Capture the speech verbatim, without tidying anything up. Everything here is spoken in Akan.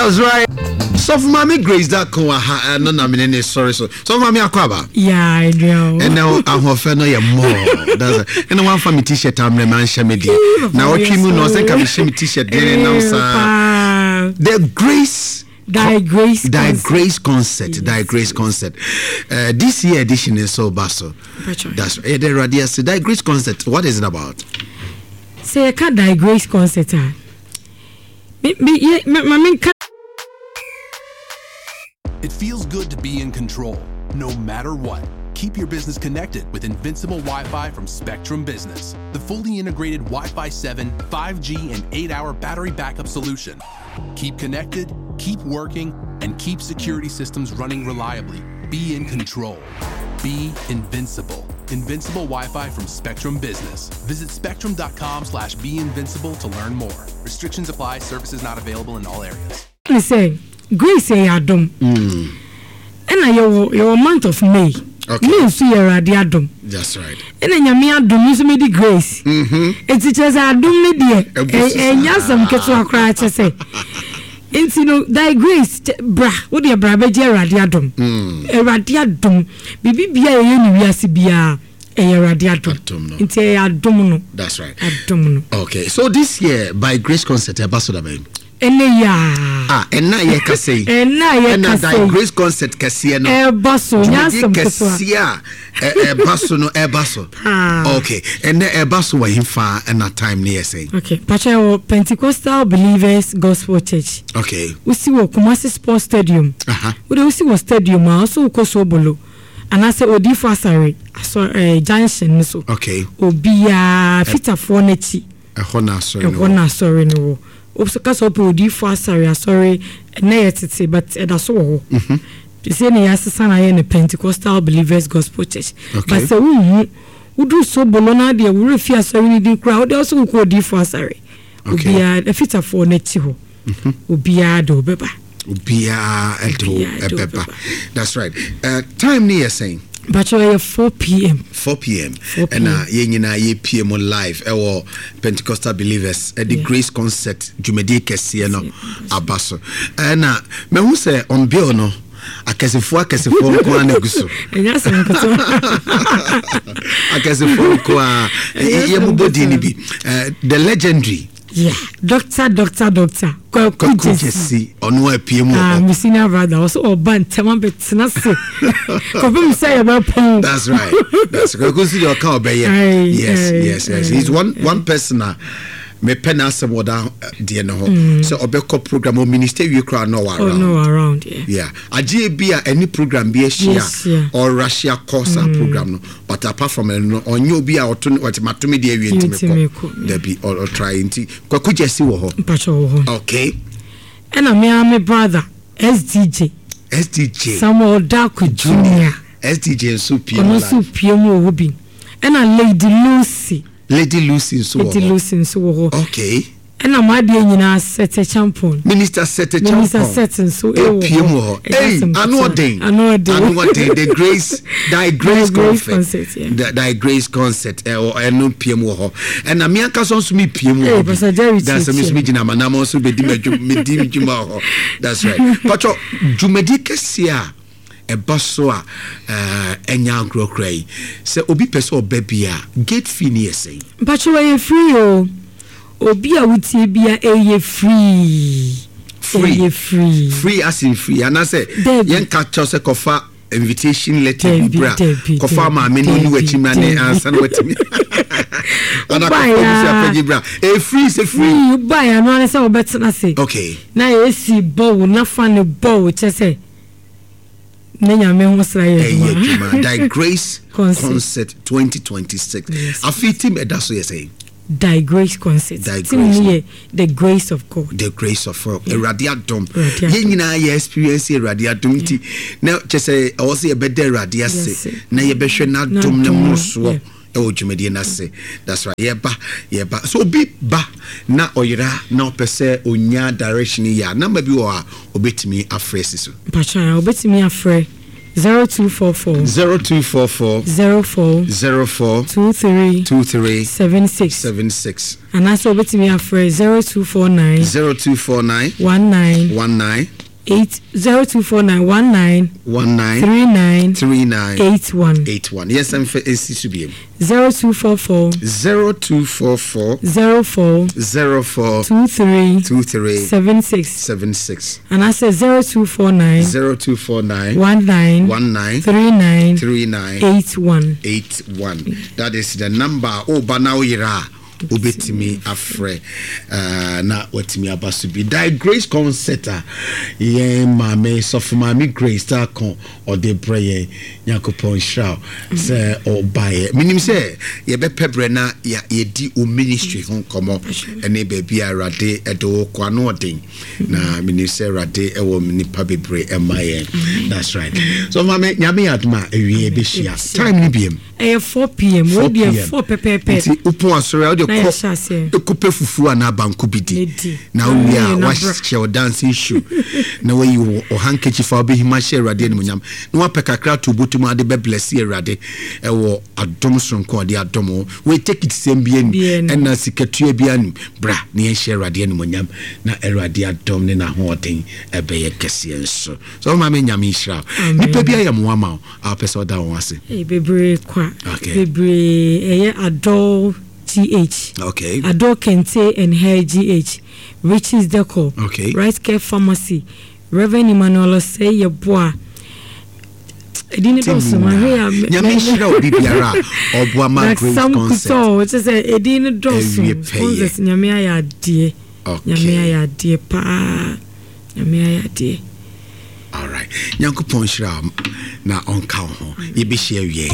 That's right. Sɔfo Maame Grace da ko aha ɛno na mene ne sɔre so. Sɔfo Maame, akɔ aba. Yeah, Adrian. Ɛnɛ ahoɔfɛ no yɛ mmɔɔ. That's right. Ɛna wamfa me T-shirt amrɛ me anhyɛ me deɛ. Na ɔtwe mu na ɔsɛ nka mehyɛ me T-shirt deɛ ne nam saa. The Grace Thy Grace Thy Concert. Grace Concert. Thy Grace Concert. Uh, this year edition is so baso. Mpacho. That's right. Yeah, the Radius. Thy Grace Concert. What is it about? Sɛ yɛka Thy Grace Concert a, me me yɛ ma ma menka It feels good to be in control, no matter what. Keep your business connected with Invincible Wi Fi from Spectrum Business, the fully integrated Wi Fi seven, five G, and eight hour battery backup solution. Keep connected, keep working, and keep security systems running reliably. Be in control. Be invincible. Invincible Wi-Fi from Spectrum Business. Visit spectrum dot com slash be invincible to learn more. Restrictions apply. Services not available in all areas. Ne sɛ grace yɛ adom, ɛna yɛwɔ yɛwɔ month of May. Okay. May nso yɛ Awurade adom. That's right. Ɛna Nyame adom nso medi grace, eti kyerɛ sɛ adom ne deɛ Ɛbu ɛ- so ɛnyɛ saa. Asɛm ketewa koraa. Kyɛ sɛ nti no, Thy Grace kyɛ- bra, wodeɛ bra bɛgye Awurade adom. Awurade adom, biribi bia yɛyɛ ne wiase biara ɛyɛ Awurade adom. Adom no. Nti ɛyɛ adom no. That's right. Adom no. Okay. So this year, by Grace Concert, Ambassador Ben. Ɛnɛ yia. Ah, and now you can say. Ɛnɛ a Ɛna yɛka Thy sɛ Grace Concert kɛseɛ no. Ɛba so, nyɛ Dwumadie asɛm ketewa. Kɛseɛ a ɛ- ɛba so no ɛba so. Ah. Okay. Ɛnɛ ɛba so wɔ hemfa, ɛna time ne yɛ sɛn? Okay, patwa, wɔ Pentecostal Believers Gospel Church. Okay. Wosi wɔ Kumasi Sports Stadium. Aha. Wode wosi wɔ stadium a, ɔso wokɔ Sobolo anaasɛ Odiifo Asare asɔ ɛɛ junction no so. Okay. Obiaa fitafoɔ n'akyi. Ɛhɔ na asɔre no Ɛhɔ wɔ. Na asɔre no wɔ. Woso kasa wopɛ Odiifo Asare asɔre, ɛnɛ yɛ tete but ɛda so wɔ hɔ sɛ ne yɛasesa no ayɛ no Pentecostal Believers Gospel Church. Okay. But sɛ wonhu, woduru Sobolo no adeɛ worɛ fi asɔre no din koraa, wode ɔso wokɔ Odiifo Asare. Okay. Obiaa afitafoɔ n'akyi hɔ, obiaa de wobɛba. Obiara ɛde wo Obiara de wo ɛbɛba. bɛba. That's right. Uh, time ne yɛ sɛn? Mpakyɛ, ɛyɛ four p m. four p m four p m. Ɛna yɛn nyinaa yɛpie mu live ɛwɔ Pentecostal Believers ɛde Yeah. Grace Concert dwumadie kɛseɛ no aba so. Ɛna mahu sɛ on bill no, akɛsefoɔ akɛsefoɔ nko ara na egu so. Ɛnyɛ asɛm ketewa. Akɛsefoɔ nko ara. Ɛnyɛ yɛ asɛm mobɔ din no ketewa. bi. Eh, the legendary Yeah, doctor, doctor, Doctor Kwaku Kwaku Jesi. Jesi, ɔno apue mu wɔ Ah, hɔ. me senior brother, ɔsɛ ɔba ntɛm abɛtena se kɔpem sɛ yɛbɛpɔn. That's right. That's right. Kwaku nso deɛ ɔka ɔbɛyɛ. Aye, Yes, aye, yes, yes. aye. He's one one person a mepɛ n'asɛm wɔ da deɛ no ho sɛ ɔbɛkɔ program o minister wie koraa na ɔwɔ Oh around. no, around, yeah. Yeah, agye bi a ɛne program bi ahyia Ahyia. ɔrahyia kɔ saa program no, but apart from ɛno no, ɔnyɛ obi a ɔto ɔte matome deɛ awie ntumi Ntumi kɔ. kɔ. Dabi, ɔtry nti Kwaku Gyesi wɔ hɔ. Mpakyɛ, wɔ hɔ. Okay. Ɛna me ara me brother S D J. S D J. Samuel Darko Junior. S D J nso pie Ɔno mu nso live. pie mu wɔ hɔ bi. Ɛna Lady Lucy. Lady Lucy nso wɔ Lady hɔ. Lucy nso wɔ hɔ. Okay. Ɛna mo adeɛ nyinaa, Sete Champon. Minister Sete Minister Champon. Sete nso ɛwɔ epie mu wɔ hɔ. Ɛyɛ Hey, asɛm ano ketewa. ɔden. Ano ɔden. Ano ɔden. The Grace, Thy Grace Thy Grace Concert. Concert, yeah. The- Thy Grace Concert ɛwɔ ɛno pie mu wɔ hɔ. Ɛna mi ankasa nso mi pie mu wɔ Hey, hɔ bi. Pastor Jerry. That's me nso mi gyina ama nam nso bɛ di ma dwuma mi di mi dwuma wɔ hɔ. That's right. Patro, dwumadi kɛseɛ a ɛba so a ɛɛ ɛnya agorɔ yi, sɛ obi pɛ sɛ ɔbɛ bi a, gate fee ni yɛ sɛn? Mpakyɛ, wɔyɛ free o. Obi a wotie bia, ɛyɛ free. Free. Ɛyɛ free. Free as in free anaasɛ Dabi. yɛnka kyɛw sɛ kɔfa invitation letter bi Dabi, bra, dabi, kɔfa dabi, maame no ne dabi, wakyi mmra ne dabi. ansa na watumi ana Wobaeɛ kɔfa a- busuapɛgye bra? Ɛyɛ free sɛ free. Free. Wobaeɛ ano ane sɛ wobɛtena se okay na yɛsi bɔ wo na fa ne bɔ wo kyɛ sɛ ne Nyame ho sra yɛ ɛyɛ adwuma. adwuma. Thy Grace Concert. Concert twenty twenty-six. Yes. Afei team ɛda so yɛ sɛn? Thy Grace Concert. Thy Team Grace. no yɛ the grace of God. The grace of God, Awurade adom. Awurade adom. Yɛn nyinaa yɛ experience Awurade adom nti na kyɛ sɛ ɛwɔ sɛ yɛbɛda Awurade ase Yes. na yɛbɛhwɛ n'adom ne N'adom no, mmorosoɔ yeah. ɛwɔ dwumadie no ase. That's right. Yɛba, yɛba so obi ba na ɔyera na ɔpɛ sɛ onya direction yi a, number bi wɔ a obɛtumi afrɛ si so? Mpakyɛ, wobɛtumi afrɛ zero two four four zero two four four zero four zero four two three two three seven six seven six anaasɛ wobɛtumi afrɛ zero two four nine zero two four nine one nine one nine eight zero two four nine one nine one nine three nine three nine eight one eight one. Yes, I'm for A C Subiem. zero two four four zero two four four zero four zero four two three two three seven six seven six anaasɛ zero two four nine zero two four nine one nine one nine three nine three nine eight one. eight one. That is the number. Woba na woyera a, wobɛtumi afrɛ uh, na watumi aba so bi. Thy Grace Concert a yɛn maame, Sɔfo Maame Grace Taako, ɔde brɛ yɛn. Nyankopɔn nhyira wo sɛ ɔbaeɛ. Menim sɛ yɛbɛpɛ berɛ na yɛ- yɛdi wo ministry ho nkɔmmɔ ɛne baabi a Awurade ɛde wo kɔ ano ɔden, na menim sɛ Awurade ɛwɔ nnipa bebree ɛma yɛn. That's right. So maame, Nyame yɛ adom a, awie yɛbɛhyia. Time no biam? Ɛyɛ four p m. Wei deɛ four pɛpɛɛpɛ. Nti wopɔn asɔre a, wode Na kɔ yɛhyɛ aseɛ. Ɛkɔpɛ fufuo anaa banku bi di. Na di. Na wowie a, Na bra. wahyɛ wo dancing shoe na wayi wo wo handkerchief a wobɛhim ahyɛ Awurade animonyam, na wapɛ kakra to wobɔtom ade bɛbless Awurade ɛwɔ adom soronko a ɔde adom wo. Wei take it sɛm bi anim Bi anim. Ɛna sikatua bi anim. Bra na yɛnhyɛ Awurade animonyam na Awurade adom ne n'ahoɔden ɛbɛyɛ kɛseɛ nso so. Ɔma me Nyame nhyira wo. Amen. Nnipa bi ayɛ mmoa ma wo a, wopɛ sɛ ɔda wɔn ase? Ee, bebree kwa. Okay. Bebree. Ɛyɛ Adol G H, okay Adol Kente and Hair G H, Riches Decor, Okay. Right Care Pharmacy, Reverend Emmanuel Osei Yeboah. Ɛdi ne dɔɔso ma hwɛ a me- Nyame me- nhyira obi biara a ɔboa ma na Grace Sam Concert. Kutɔ kyɛ sɛ ɛdin no Ɛwie dɔɔso. pɛyɛ. Sponsors, Nyame ayɛ adeɛ. Okay. Nyame ayɛ adeɛ paa, Nyame ayɛ adeɛ. Alright, Nyankopɔn nhyira wo na ɔnka wo ho. Yɛbɛhyia wie.